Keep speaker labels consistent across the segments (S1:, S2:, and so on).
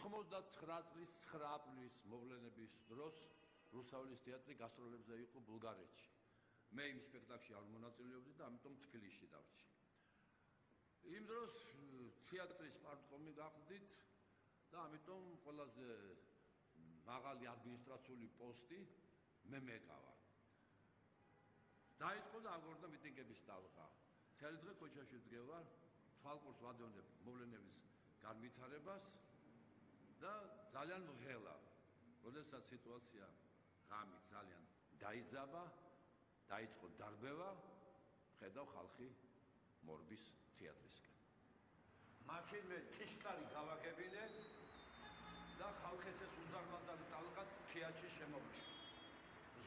S1: 99 წლის 9 აპრილის მოვლენების დროს რუსთაველის თეატრი გასტროლებზე იყო ბულგარეთში. მე იმ სპექტაკლში არ მონაწილეობდი და ამიტომ თბილისში დავრჩი. იმ დროს თეატრის პარტკომი გახდით და ამიტომ ყველაზე მაღალი ადმინისტრაციული პოსტი მე მეკავა. დაიწყო და აგორდა მიტინგების ტალღა. მთელი დღე ქუჩაში ვდგევარ, თვალყურს ვადევნებ მოვლენების განვითარებას და ძალიან მღელა. როდესაც სიტუაცია ღამით ძალიან დაიძაბა, დაიწყო დარბევა, ხედავ ხალხი მორბის თეატრისკენ. მაშინ მე ჭიშკარი გავაკებინე და ხალხის ეს უზარმაზარი ტალღაც თეატრში შემომიშვა.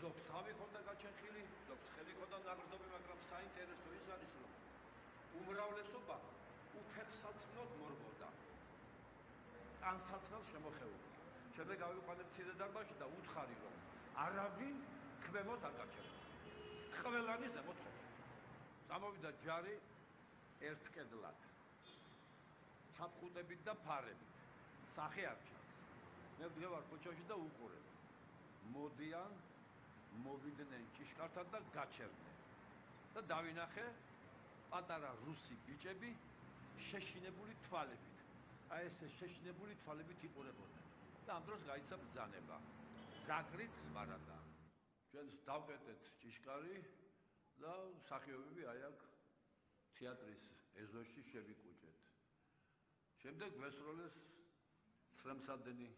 S1: ზოგს თავი ქონდა გაჩენხილი, ზოგს ხელი ქონდა ნაგრძობი, მაგრამ საინტერესო ის არის, რომ უმრავლესობა უფეხსაცმლოდ მორბოდა. ტანსაცმელს შემოხეულია. შემდეგ გავიყვანე მცირე დარბაზში და უთხარი, რომ არავინ ქვემოთ არ გაჩერდა. ყველანი ზემოთ ხედავდა. წამოვიდა ჯარი ერთ კედლად. ჩაფხუტებით და ფარებით. სახე არ ჩანს. მე ვდგევარ ქუჩაში და უყურებ. მოდიან, მოვიდნენ ჭიშკართან და გაჩერდნენ. და დავინახე პატარა რუსი ბიჭები შეშინებული თვალებით. აი ესე შეშინებული თვალებით იყურებოდნენ. და ამ დროს გაიცა ბრძანება. ზაკრიც მარადა. ჩვენს დავკეტეთ ჭიშკარი და მსახიობები აი აქ თეატრის ეზოში შევიკუჭეთ. შემდეგ ვესროლეს ცრემსადენი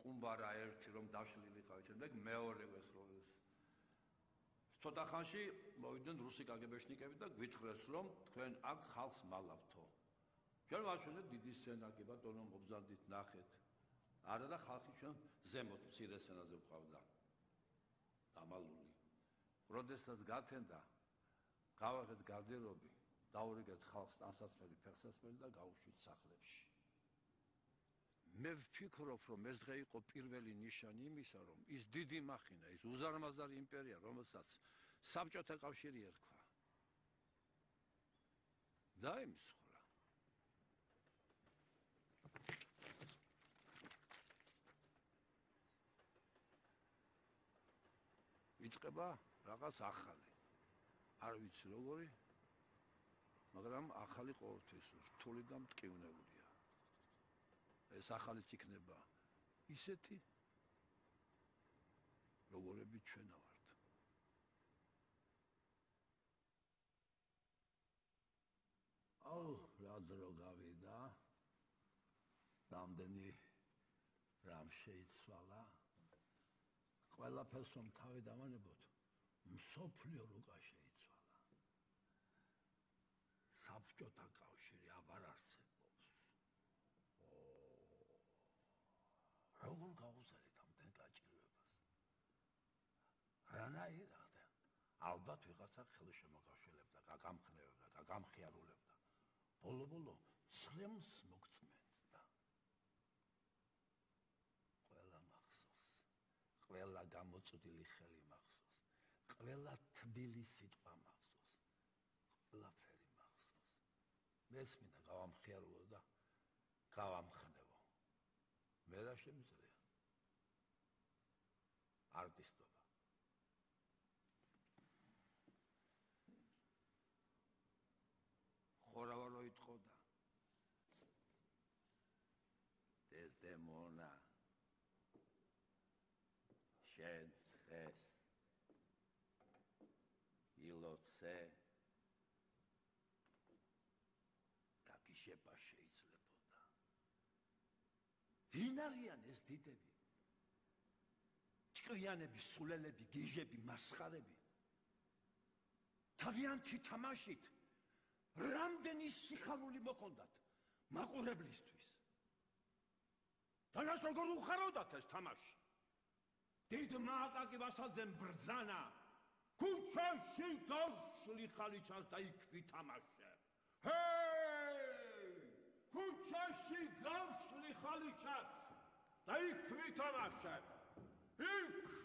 S1: ყუმბარა ერთი რომ დაშლილი ხარ, შემდეგ მეორე ვესროლეს. ცოტა ხანში მოვიდნენ რუსი კგბ-შნიკები და გვითხრეს რომ თქვენ აქ ხალხს მალავთო. ჩვენ ვაჩვენეთ დიდი სცენა, კი ბატონო მობრძანდით ნახეთ. არა და ხალხი ჩვენ ზემოთ მცირე სცენაზე ვყავდა. დამალული. როდესაც გათენდა, გავაღეთ გარდერობი, დაურიგეთ ხალხს ტანსაცმელი, ფეხსაცმელი და გავუშვით სახლებში. მე ვფიქრობ, რომ ეს დღე იყო პირველი ნიშანი იმისა, რომ ის დიდი მახინა, ის უზარმაზარი იმპერია, რომელსაც საბჭოთა კავშირი ერქვა, დაიმსხვრა. იწყება რაღაც ახალი. არ ვიცი როგორი, მაგრამ ახალი ყოველთვის რთული და მტკივნეულია. ეს ახალიც იქნება ისეთი, როგორები ჩვენ ვართ. აუ, რა დრო გავიდა, რამდენი რამ შეიცვალა. ყველაფერს რომ თავი დავანებოთ, მსოფლიო რუკა შეიცვალა. საბჭოთა კავშირი აღარ არსებობს. როგორ გავუზარდეთ ამდენ გაჭირვებას? რანაირად? ალბათ ვიღაცა ხელშემოგაშველებდა, გაგამხნევებდა, გაგამხიარულებდა. ბოლო-ბოლო ცრემლს მოგწმენდა. ყველა მახსოვს. ყველა გამოწვდილი ხელი მახსოვს. ყველა თბილი სიტყვა მახსოვს. ყველაფერი მახსოვს. მეც მინდა გავამხიარულო და გავამხნევო. მე რა შემიძლია? არტისტობა. ხორავა რო იტყოდა. დეზდემონა. შენ დღეს ილოცე გაგიშება შეიძლებოდა. ვინ არიან ეს დიდები? ჭკვიანები, სულელები, გიჟები, მასხარები. თავიანთი თამაშით რამდენი სიხარული მოხონდათ მაყურებლისთვის. თანაც როგორ უხაროდათ ეს თამაში? დიდ მააკაკი ვასალძემ ბრძანა, ქუჩაში გავშლი ხალიჩას და იქ ვითამაშებ. ჰეი! ქუჩაში გავშლი ხალიჩას და იქ ვითამაშებ. იქ